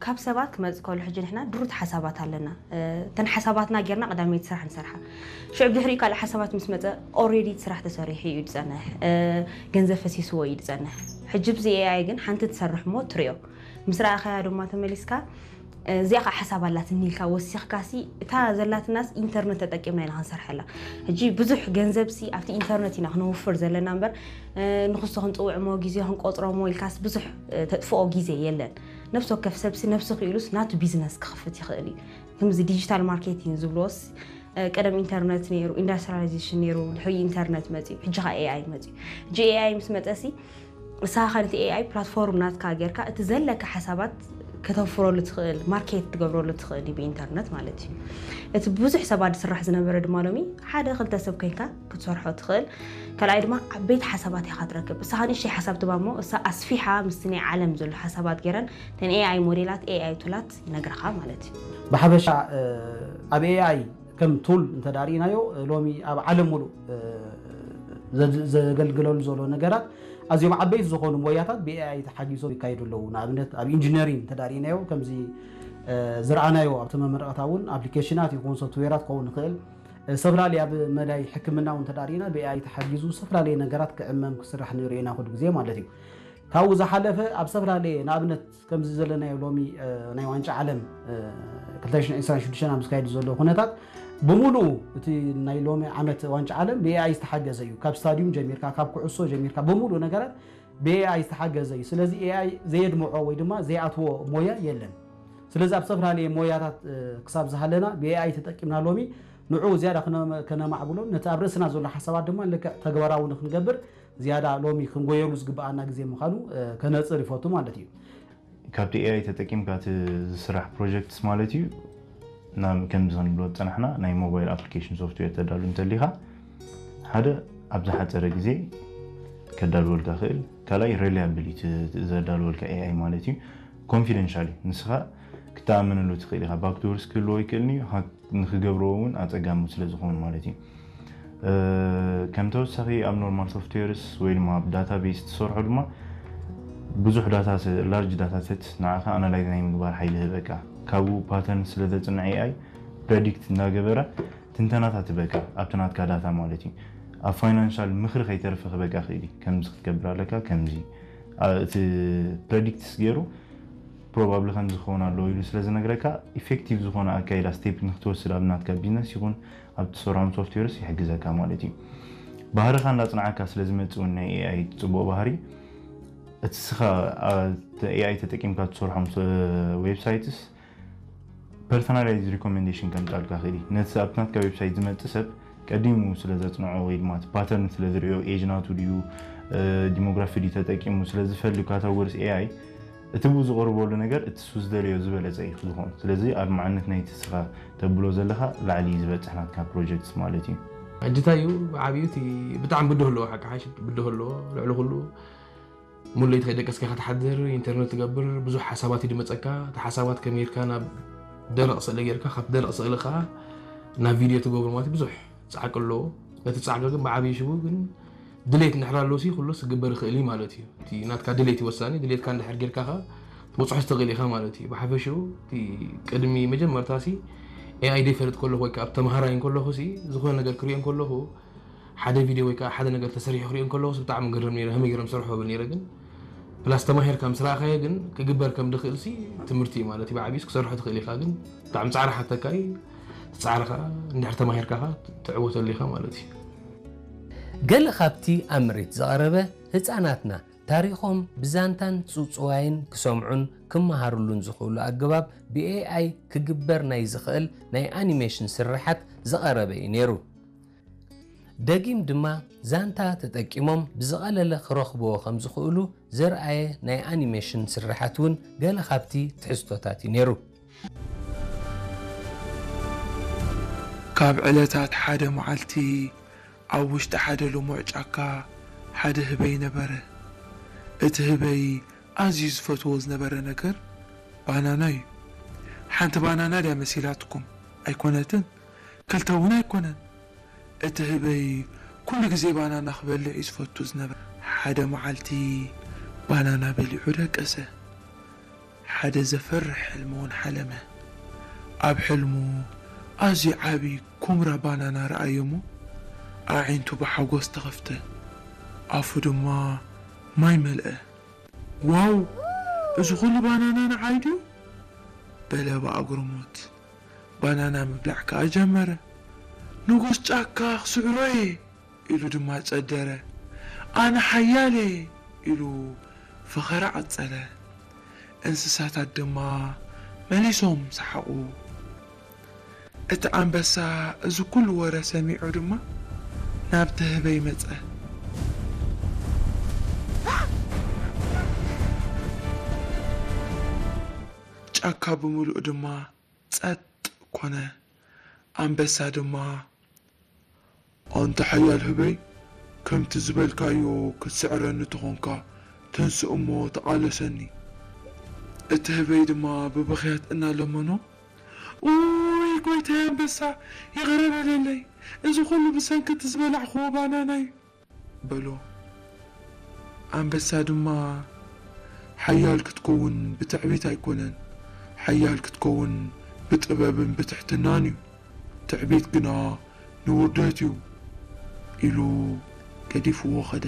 ካብ ሰባት ክመጽእ ከሎ ሕጂ ንሕና ድሩት ሓሳባት ኣለና። እተን ሓሳባትና ጌርና ቀዳመይቲ ስራሕ ንሰርሓ። ሽዑ ብድሕሪኡ ካልእ ሓሳባት ምስ መጸ ኦሬዲ እቲ ስራሕ ተሰሪሑ እዩ ዝጸንሕ። ገንዘብ ፈሲስዎ እዩ ዝጸንሕ። ሕጂ ብዚ ኤኣይ ግን ሓንቲ ትሰርሕ እሞ ትሪኦ። ምስ ረኣኻያ ድማ ተመሊስካ እዚኣ ከዓ ሓሳብ ኣላትኒ ኢልካ ወሲኽካ ሲ እታ ዘላትናስ ኢንተርነት ተጠቂምና ኢና ክንሰርሐላ። ሕጂ ብዙሕ ገንዘብ ሲ ኣብቲ ኢንተርነት ኢና ክነውፍር ዘለና እምበር ንክሶ ክንፅውዕሞ ግዜ ክንቆፅሮሞ ኢልካስ ብዙሕ ተጥፍኦ ግዜ የለን። ነፍሲ ወከፍ ሰብሲ ነፍሲ ክኢሉስ ናቱ ቢዝነስ ክኽፍት ይኽእል እዩ። ከምዚ ዲጂታል ማርኬቲንግ ዝብልዎስ ቀደም ኢንተርነት ነይሩ፣ ኢንዳስትሪያላይዜሽን ነይሩ፣ ድሕሪ ኢንተርነት መፅዩ፣ ሕጂ ኸ ኤኣይ መፅዩ። ሕጂ ኤኣይ ምስ መፀሲ ንስኻ ነቲ ኤኣይ ፕላትፎርም ናትካ ጌርካ እቲ ዘለካ ሓሳባት ከተፍረሉ ትኽእል፣ ማርኬት ትገብረሉ ትኽእል እዩ ብኢንተርነት ማለት እዩ። እቲ ብዙሕ ሰባት ዝስራሕ ዝነበረ ድማ ሎሚ ሓደ ክልተ ሰብ ኮይንካ ክትሰርሖ ትኽእል። ካልኣይ ድማ ዓበይቲ ሓሳባት ኢኻ ትረክብ። እሳኻ ንእሽተይ ሓሳብ ትባ እሞ እሳ ኣስፊሓ ምስቲ ናይ ዓለም ዘሎ ሓሳባት ገይረን እተን ኤኣይ ሞዴላት ኤኣይ ቱላት ይነግረኻ ማለት እዩ። ብሓፈሻ ኣብ ኤኣይ ከም ቱል እንተዳሪእናዮ ሎሚ ኣብ ዓለም ሙሉእ ዘገልግለሉ ዘሎ ነገራት ኣዝዮም ዓበይቲ ዝኾኑ ሞያታት ብኤኣይ ተሓጊዞም ይካየዱ ኣለዉ። ንኣብነት ኣብ ኢንጂነሪንግ እንተዳሪእናዮ ከምዚ ዝረኣናዮ ኣብቲ መመረቕታ እውን ኣፕሊኬሽናት ይኹን ሶፍትዌራት ክኸውን ይኽእል። ዝተፈላለየ ኣብ መዳይ ሕክምና እውን እንተዳሪእና ብኤኣይ ተሓጊዙ ዝተፈላለየ ነገራት ክዕመም ክስራሕ ንሪኦ ኢና ኩሉ ግዜ ማለት እዩ። ካብኡ ዝሓለፈ ኣብ ዝተፈላለየ ንኣብነት ከምዚ ዘለናዮ ሎሚ ናይ ዋንጫ ዓለም ክልተ ሽሕን ዕስራን ሽዱሽተን ኣብ ዝካየድ ዘሎ ኩነታት ብምሉኡ እቲ ናይ ሎሚ ዓመት ዋንጫ ዓለም ብኤኣይ ዝተሓገዘ እዩ። ካብ ስታዲዩም ጀሚርካ ካብ ኩዕሶ ጀሚርካ ብምሉኡ ነገራት ብኤኣይ ዝተሓገዘ እዩ። ስለዚ ኤኣይ ዘየድምዖ ወይ ድማ ዘይኣትዎ ሞያ የለን። ስለዚ ኣብ ዝተፈላለየ ሞያታት ክሳብ ዝሃለና ብኤኣይ ተጠቂምና ሎሚ ንዑ ዝያዳ ከነማዕብሎን ነቲ ኣብ ርእስና ዘሎ ሓሳባት ድማ ልክዕ ተግባራዊ ንክንገብር ዝያዳ ሎሚ ክንጎየሉ ዝግብኣና ግዜ ምዃኑ ከነፅር ይፈቱ ማለት እዩ። ካብቲ ኤኣይ ተጠቂምካ እቲ ዝስራሕ ፕሮጀክትስ ማለት እዩ። ናብ ከምዚ ክንብሎ ዝፀናሕና ናይ ሞባይል ኣፕሊኬሽን ሶፍትዌር ተዳሉ እንተሊኻ ሓደ ኣብ ዝሓፀረ ግዜ ከዳልወልካ ክእል፣ ካልኣይ ሬሊያብል እዩ ዘዳልወልካ ኤኣይ ማለት እዩ። ኮንፊደንሻል እዩ፣ ንስኻ ክትኣምንሉ ትኽእል ኢኻ። ባክዶርስ ክህልዎ ይክእል እዩ፣ ንክገብርዎ እውን ኣፀጋሚ ስለ ዝኸውን ማለት እዩ። ከም ተወሳኺ ኣብ ኖርማል ሶፍትዌርስ ወይ ድማ ኣብ ዳታቤስ ትሰርሖ ድማ ብዙሕ ዳታ ላርጅ ዳታ ሰት ንዓኻ ኣናላይዝ ናይ ምግባር ሓይሊ ህበካ። ካብኡ ፓተርን ስለ ዘፅንዕ ኤኣይ ፕረዲክት እናገበረ ትንተናታት ህበካ ኣብቲ ናትካ ዳታ ማለት እዩ። ኣብ ፋይናንሻል ምኽሪ ከይተርፍ ክበካ ክእል እዩ። ከምዚ ክትገብር ኣለካ ከምዚ እቲ ፕረዲክትስ ገይሩ ፕሮባብሊ ከምዚ ክኸውን ኣለዎ ኢሉ ስለ ዝነግረካ ኢፌክቲቭ ዝኾነ ኣካይዳ ስቴፕ ንክትወስድ ኣብ ናትካ ቢዝነስ ይኹን ኣብ ትሰርሖም ሶፍትዌርስ ይሕግዘካ ማለት እዩ። ባህርኻ እንዳፅንዓካ ስለ ዝመፅእ እውን ናይ ኤኣይ ፅቡቕ ባህሪ እቲ ስኻ ኤኣይ ተጠቂምካ ትሰርሖም ዌብሳይትስ ፐርሶናላይዝ ሪኮሜንዴሽን ከምፃልካ ክእል እዩ። ነቲ ኣብቲ ናትካ ዌብሳይት ዝመፅእ ሰብ ቀዲሙ ስለ ዘፅንዖ ወይ ድማ እቲ ፓተርን ስለ ዝሪኦ ኤጅ ናቱ ድዩ ዲሞግራፊ ድዩ ተጠቂሙ ስለ ዝፈልግ ካታጎሪስ ኤኣይ እቲ ብኡ ዝቐርበሉ ነገር እቲ ሱ ዝደለዮ ዝበለፀ እዩ ዝኸውን። ስለዚ ኣድማዕነት ናይቲ ስኻ ተብሎ ዘለኻ ላዕሊ እዩ ዝበፅሕ ናትካ ፕሮጀክትስ ማለት እዩ። ሕጂ እንታይ እዩ ብዓብዩ እቲ ብጣዕሚ ብድሆ ኣለዎ፣ ሓቂ ሓሽ ብድሆ ኣለዎ። ልዕሊ ኩሉ ሙሉ ለይቲ ከይደቀስካ ኢኻ ትሓድር፣ ኢንተርነት ትገብር፣ ብዙሕ ሓሳባት እዩ ዝመፀካ። እቲ ሓሳባት ከመይ ጌርካ ናብ ደረቕ ስእሊ ጌርካ ካብ ደረቕ ስእሊ ከዓ ናብ ቪድዮ ትገብሮ ማለት ብዙሕ ፃዕቂ ኣለዎ። ነቲ ፃዕቂ ግን ብዓብዩ ሽቡ ግን ድሌት እንድሕር ኣሎ ሲ ኩሉስ ክግበር ይኽእል እዩ ማለት እዩ። እቲ ናትካ ድሌት እዩ ወሳኒ። ድሌትካ እንድሕር ጌርካ ከዓ ትበፅሖ ትኽእል ኢኻ ማለት እዩ። ብሓፈሽኡ እቲ ቅድሚ መጀመርታ ሲ ኤኣይ ደይፈልጥ ከለኹ ወይ ከዓ ኣብ ተምሃራይ እንከለኹ ሲ ዝኾነ ነገር ክሪኦ እንከለኹ ሓደ ቪድዮ ወይ ከዓ ሓደ ነገር ተሰሪሑ ክሪኦ እንከለኹ ሲ ብጣዕሚ ገረም ነይረ። ከመይ ገይሮም ሰርሑ ብል ነይረ ግን ፕላስ ተማሂርካ ምስ ረኣኻዮ ግን ክግበር ከም ድኽእል ሲ ትምህርቲ እዩ ማለት እዩ። ብዓብዩስ ክሰርሖ ትኽእል ኢኻ ግን ብጣዕሚ ፃዕሪ ሓተካ እዩ። እቲ ፃዕሪ ከዓ እንድሕር ተማሂርካ ከዓ ትዕወተሉ ኢኻ ማለት እዩ። ገለ ካብቲ ኣብ ምርኢት ዝቐረበ ህፃናትና ታሪኾም ብዛንታን ፅውፅዋይን ክሰምዑን ክመሃርሉን ዝኽእሉ ኣገባብ ብኤኣይ ክግበር ናይ ዝኽእል ናይ ኣኒሜሽን ስርሓት ዝቐረበ እዩ ነይሩ። ደጊም ድማ ዛንታ ተጠቂሞም ብዝቐለለ ክረኽብዎ ከም ዝኽእሉ ዘርኣየ ናይ ኣኒሜሽን ስርሓት እውን ገለ ካብቲ ትሕዝቶታት እዩ ነይሩ። ካብ ዕለታት ሓደ መዓልቲ ኣብ ውሽጢ ሓደ ልሙዕ ጫካ ሓደ ህበይ ነበረ። እቲ ህበይ ኣዝዩ ዝፈትዎ ዝነበረ ነገር ባናና እዩ። ሓንቲ ባናና ድያ መሲላትኩም? ኣይኮነትን። ክልተ እውን ኣይኮነን። እቲ ህበይ ኩሉ ግዜ ባናና ክበልዕ እዩ ዝፈቱ ዝነበረ። ሓደ መዓልቲ ባናና በሊዑ ደቀሰ። ሓደ ዘፍርሕ ሕልሚ እውን ሓለመ። ኣብ ሕልሙ ኣዝዩ ዓቢ ኩምራ ባናና ረኣየ እሞ፣ ኣዒንቱ ብሓጎስ ተኸፍተ። ኣፉ ድማ ማይ መልአ። "ዋው! እዚ ኹሉ ባናና ንዓይ ድዩ?" በለ ብኣግርሞት። ባናና ምብላዕ ከኣ ጀመረ። "ንጉስ ጫካ ክስዕሮ እየ!" ኢሉ ድማ ጸደረ። "ኣነ ሓያል እየ!" ኢሉ ፈኸራ ቀጸለ። እንስሳታት ድማ መሊሶም ሰሓቑ። እቲ ኣንበሳ እዚ ኩሉ ወረ ሰሚዑ ድማ ናብቲ ህበይ መጸ። ጫካ ብምሉኡ ድማ ጸጥ ኮነ። ኣንበሳ ድማ፣ "ኣንታ ሓያል ህበይ፣ ከምቲ ዝበልካዮ ክትስዕረኒ ተኾንካ፣ ተንስእ እሞ ተቓለሰኒ።" እቲ ህበይ ድማ ብብኽያት እናለመኖ፣ "ኡይ ጎይታይ ኣንበሳ፣ ይቕረ በለለይ፣ እዚ ኹሉ ብሰንኪ እቲ ዝበላዕኽዎ ባናና እዩ" በሎ። ኣንበሳ ድማ፣ "ሓያል ክትከውን ብትዕቢት ኣይኮነን፣ ሓያል ክትከውን ብጥበብን ብትሕትናን እዩ። ትዕቢት ግና ንውርደት እዩ" ኢሉ ገዲፍዎ ኸደ።